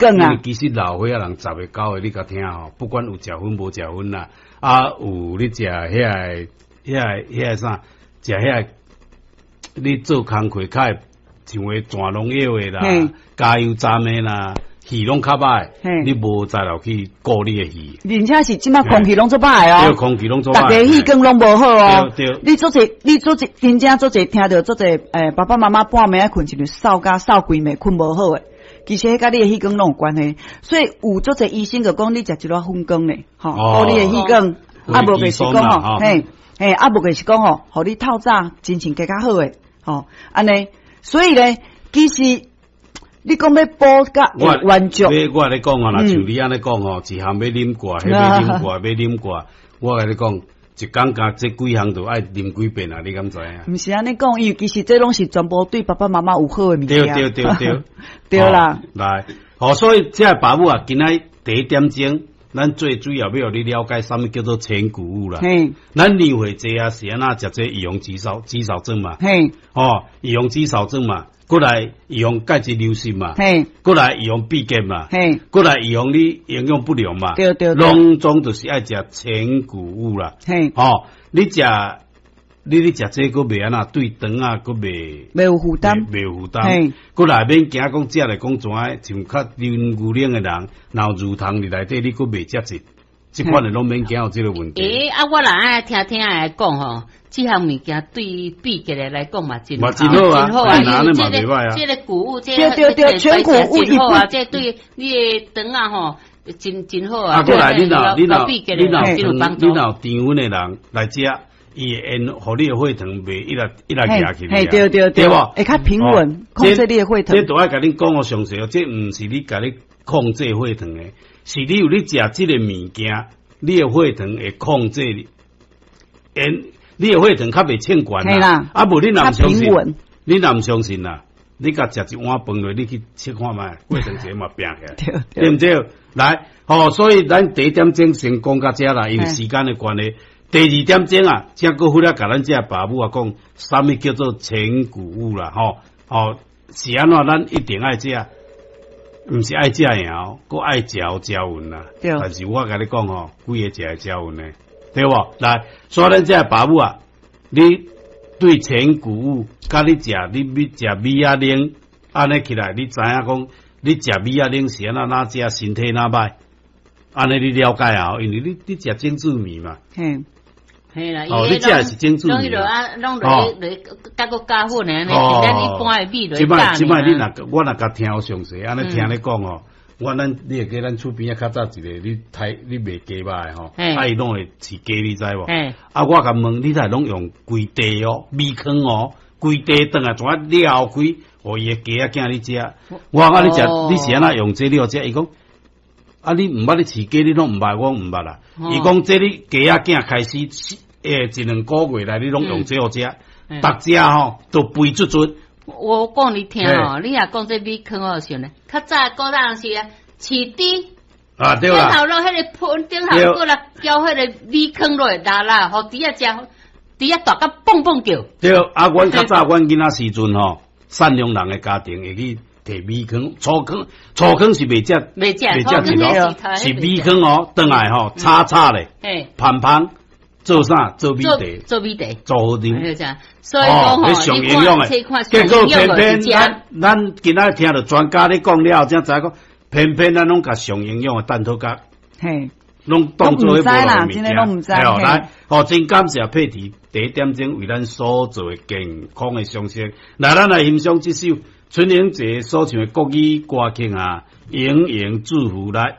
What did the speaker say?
管啊。因為其實老歲仔人10個9個，你共聽吼，不管有食薰無食薰啦，啊有你食遐个、遐个、遐个啥，食遐個，你做工課較會像會轉農藥的啦，加油站的啦，氣攏較歹，你無才調去顧你的氣。而且是這馬空氣攏足歹哦，對，空氣攏足歹，逐家氣管攏無好哦。對，你足濟，你足濟，真正足濟聽著足濟，爸爸媽媽半暝愛睏，一日嗽甲嗽規暝，睏無好的。其實彼佮你的氣管攏有關係，所以有足濟醫生就講你食一寡粉羹咧，吼，顧你的氣管，啊無就是講吼，嘿，嘿，啊無就是講吼，予你透早精神加較好的，吼，按呢，所以咧，其實你講欲補甲完足，我共你講啊，若像你按呢講吼，一項欲啉過，彼欲啉過，欲啉過，我共你講，一工共這幾項都愛啉幾遍啊？你敢知影？毋是按呢講，因為其實這攏是全部對爸爸媽媽有好的物件。對對對對，對啦。來，好，所以這个爸母啊，今仔第一點鐘，咱最主要欲予你了解啥物叫做全穀物啦。咱年歲濟啊，是按怎食這預防肌少肌少症嘛？哦，預防肌少症嘛，閣來預防鈣質流失嘛？閣來預防閉結嘛？閣來預防你營養不良嘛？對對對，攏總就是愛食全穀物啦。哦，你食你咧食這閣袂按怎對腸仔閣袂袂有負擔，袂有負擔。閣來免驚講食來講怎啊，像較啉牛奶的人，若有乳糖佇內底，你閣袂食這，這款的攏免驚有這個問題。欸，啊，我若按呢聽聽來講吼，這項物件對秘結的來講嘛真嘛真好啊，真好啊，因為這個這個穀物，這對對對，全穀物真好啊，這對你的腸仔吼，真真好啊。啊，閣來你若你若你若你若有甜粉的人來食。伊會緣，予你的血糖袂一直一直壓起來，對對對無？會較平穩，控制你的血糖。這都愛共恁講予詳細哦，這毋是你共你控制血糖的，是你有咧食這个物件，你的血糖會控制，緣你的血糖較袂衝懸啦。啊，無你若毋相信，你若毋相信啦，你共食一碗飯落，你去測看覓，血糖一下嘛拚起來，對毋對？來，吼，所以咱第一點鐘先講到這啦，因為時間的關係。第二點鐘啊，才閣回來共咱這爸母啊講，啥物叫做全穀物啦，吼吼是按怎？咱一定愛食，毋是愛食爾，閣愛食有食勻啦。但是我共你講吼，幾个食會食勻的，對無？來，所以咱這爸母啊，你對全穀物，佮你食你欲食米仔奶，按呢起來，你知影講，你食米仔奶是按怎哪食，身體哪歹？按呢你了解啊？因為你你食精緻米嘛。嘿啦，哦，你食的是精緻米。攏啊，攏落落加閣加粉的按呢，是咱一般的米落加。這擺這擺你若我若共聽予詳細，按呢聽你講哦，我咱你會記咱厝邊仔較早一個你刣你賣雞肉的吼，啊伊攏會飼雞，你知無？啊，我共問你，若攏用規袋哦，米糠哦，規袋轉來怎啊撩開，予伊的雞仔囝咧食。我講啊，你食你是按怎用這料食？伊講。啊！你毋捌咧飼雞，你攏毋捌，我毋捌啦。伊講這你雞仔囝開始，一兩個月來，你攏用這好食，逐隻吼都肥足足。我講你聽吼，你若講這米糠我想咧，較早古早時啊，飼豬啊對啦，頂頭落彼个盆頂頭閣來澆彼个米糠落來，啦啦，予豬仔食，豬仔大甲蹦蹦叫。對，啊，阮較早阮囡仔時陣吼，善良人的家庭會去。提米糠、粗糠、粗糠是袂食，袂食，袂食一咯，是米糠哦，轉來吼，炒炒咧，芳芳做啥？做米茶，做米茶，做好啉。所以講吼，上營養的，結果偏偏咱咱今仔聽著專家咧講了後，才知影講，偏偏咱攏共上營養的蛋撻角，攏當做彼無聊的物件。來，好，真感謝佩蒂第一點鐘為咱所做的健康的常識。來，咱來欣賞這首。春玲姐所唱的國語歌曲啊，盈盈祝福來。